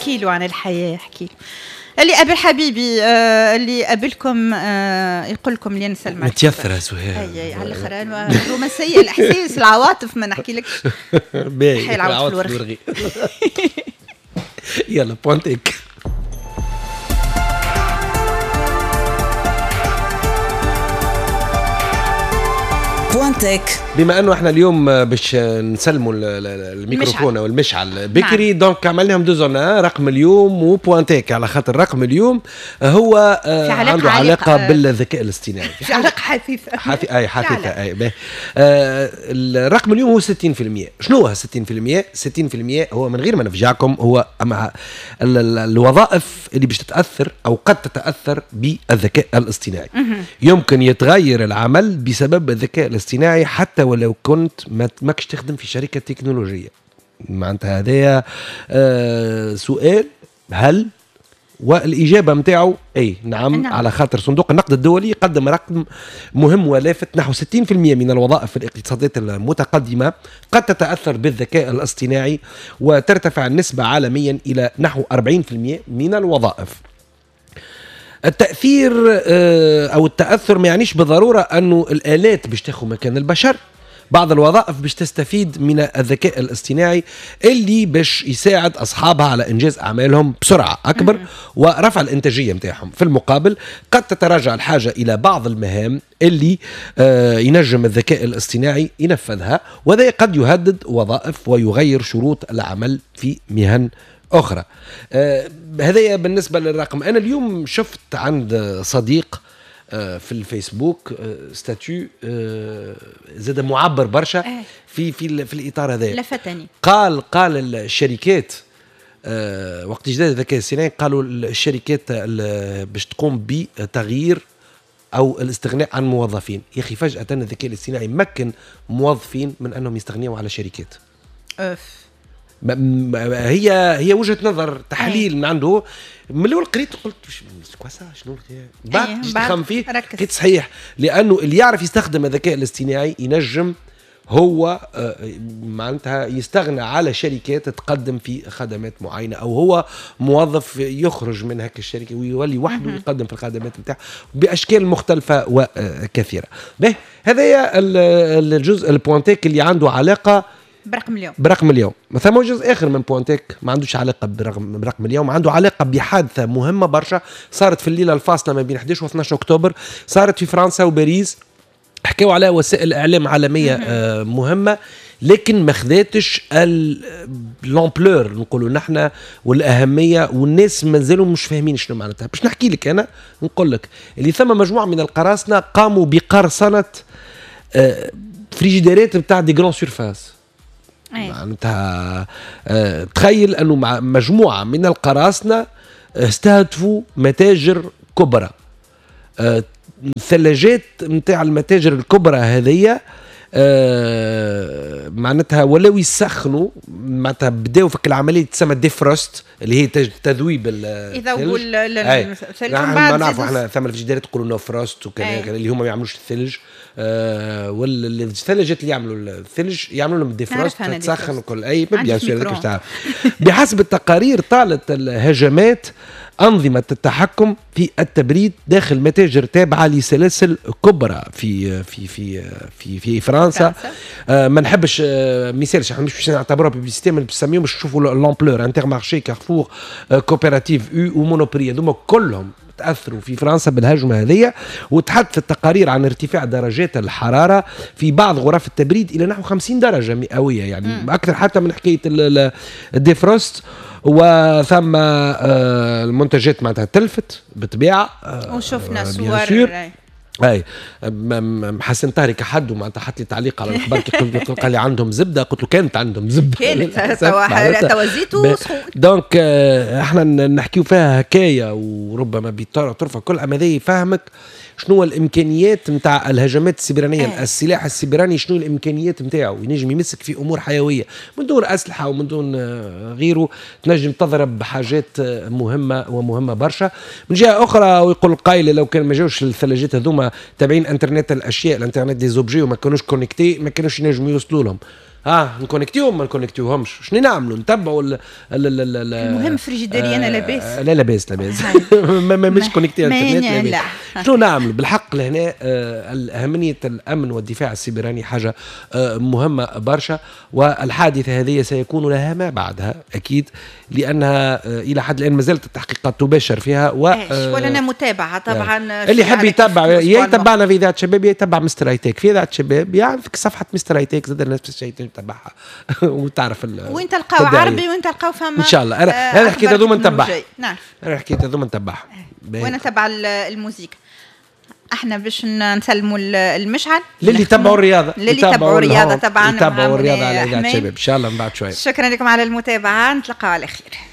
احكي له عن الحياة، احكي له. اللي قابل حبيبي، اللي قابلكم، يقول لكم اللي نسلم. متيثرة سهير. اي على الاخر، الرومانسية، الاحساس، العواطف، ما نحكي لكش. باهي، العواطف الورغي. يلا point tech. point tech. بما انه احنا اليوم باش نسلموا الميكروفون او المشعل بكري، نعم. donc عملناهم deux en un، رقم اليوم و point tech، على خاطر رقم اليوم هو علاقة عنده علاقة بالذكاء الاصطناعي. في علاقة حثيثه. اي حثيثه اي. الرقم اليوم هو 60%. شنو هو 60%؟ 60% هو من غير ما نفجعكم، هو مع الوظائف اللي باش تتاثر او قد تتاثر بالذكاء الاصطناعي. يمكن يتغير العمل بسبب الذكاء الاصطناعي حتى ولو كنت ماكش تخدم في شركة تكنولوجية. معناتها هذايا سؤال هل، والإجابة متاعه أي نعم. على خاطر صندوق النقد الدولي قدم رقم مهم ولافت، نحو 60% من الوظائف في الاقتصادات المتقدمة قد تتأثر بالذكاء الاصطناعي، وترتفع النسبة عالميا إلى نحو 40% من الوظائف. التأثير أو التأثر ما يعنيش بالضرورة أنه الآلات باش تاخذ مكان البشر. بعض الوظائف باش تستفيد من الذكاء الاصطناعي اللي باش يساعد أصحابها على إنجاز أعمالهم بسرعة أكبر ورفع الإنتاجية متاعهم. في المقابل قد تتراجع الحاجة إلى بعض المهام اللي ينجم الذكاء الاصطناعي ينفذها، وهذا قد يهدد وظائف ويغير شروط العمل في مهن أخرى. هذا بالنسبة للرقم. أنا اليوم شفت عند صديق في الفيسبوك statut زاد معبر برشا في في في الإطار هذا، لفتني. قال الشركات وقت جداد الذكاء الاصطناعي، قالوا الشركات باش تقوم بتغيير أو الاستغناء عن موظفين. يا أخي فجأة الذكاء الاصطناعي مكن موظفين من أنهم يستغنيوا على شركات. أوف. هي وجهه نظر، تحليل من عنده. من الاول قريت قلت quoi ça، شنو بعد تخمم فيه لقيت صحيح، لانه اللي يعرف يستخدم الذكاء الاصطناعي ينجم هو معناتها يستغنى على شركات تقدم في خدمات معينة، او هو موظف يخرج من هيك الشركة ويولي وحده يقدم في الخدمات نتاعه باشكال مختلفة وكثيره. به هذا الجزء ال point tech اللي عنده علاقة برقم اليوم. برقم اليوم. ثم جزء اخر من point tech ما عندوش علاقة برقم اليوم، عنده علاقة بحادثة مهمة برشا صارت في الليلة الفاصلة ما بين 11 و 12 اكتوبر، صارت في فرنسا وباريس، حكاوا عليها وسائل اعلام عالمية مهمة، لكن ما خذاتش l'ampleur نقولوا نحن والاهميه، والناس مازالوا مش فاهمين شنو معناتها. باش نحكي لك انا، نقول لك اللي ثم مجموعة من القراصنة قاموا بقرصنه فريجيديرات نتاع des grandes surfaces. معناتها تخيل انه مع مجموعة من القراصنة استهدفوا متاجر كبرى، الثلاجات نتاع المتاجر الكبرى هذيا معناتها ولاو يسخنوا، معناتها بداو في العملية تسمى defrost اللي هي تذويب يذوبوا الثلج. ما نعرفوا احنا ثم الفريجيديرات يقولوا no frost وكذا، اللي هما ما يعملوش الثلج، والثلجات اللي يعملوا الثلج يعملوا لهم defrost تسخن وكل اي bien sûr. بحسب التقارير طالت الهجمات أنظمة التحكم في التبريد داخل متاجر تابعة لسلاسل كبرى في في في في في فرنسا. ما نحبش مثال، احنا مش باش نعتبروها publicité، ما نسميهم باش نشوفوا l'ampleur، Intermarché، Carrefour، coopérative U و Monoprix، هذوما كلهم تاثروا في فرنسا بالهجمه هذه. وتحدث التقارير عن ارتفاع درجات الحرارة في بعض غرف التبريد الى نحو 50 درجه مئوية، يعني اكثر حتى من حكاية ال defrost. وثم المنتجات معناتها تلفت بالطبيعة، وشفنا صور. اي حسن طارق كحد معناتها حط لي تعليق على الاخبار قال لي عندهم زبدة، قلت له كانت عندهم زبدة، كانت توا زيت وسخون. donc احنا نحكيو فيها حكاية وربما بطرفه كل، اما هذا يفهمك شنو الامكانيات نتاع الهجمات السيبرانيه. السلاح السيبراني شنو الامكانيات نتاعو، ينجم يمسك في امور حيوية من دون اسلحة ومن دون غيره، تنجم تضرب بحاجات مهمة ومهمة برشا. من جهة اخرى ويقول القائل لو كان ما جاوش الثلاجات هذوما تابعين انترنت الاشياء، ال internet des objets، وما كانوش connectés ما كانوش ينجموا يوصلوا لهم. نكونكتيهم ما نكونكتيوهمش، شنو نعملوا؟ نتبعوا المهم فريجيديري انا لاباس. لا لاباس لاباس، مش connecté انترنت لاباس. شنو نعملوا بالحق لهنا؟ اهمية الامن والدفاع السيبراني حاجة مهمة برشا، والحادثه هذه سيكون لها ما بعدها اكيد، لانها الى حد الان ما زالت التحقيقات تباشر فيها. ولنا متابعه طبعا. اللي يحب يتبع يتبعنا في اذاعة شباب، يتبع مستر هايتك في اذاعة شباب، يعني في صفحة مستر هايتك زاد الناس الشيء تتبعها وتعرف. وين تلقاو عربي، وين تلقاو فما ان شاء الله. انا حكيت هذوما نتبعها. نعم، انا حكيت هذوما نتبعها. وانا تبع الموزيك. احنا باش نسلموا المشعل للي تبعوا الرياضه. للي تبعوا الرياضة طبعا. يتبعوا الرياضة على اذاعة شباب ان شاء الله من بعد شويه. شكرا لكم على المتابعه، نتلقاو على خير.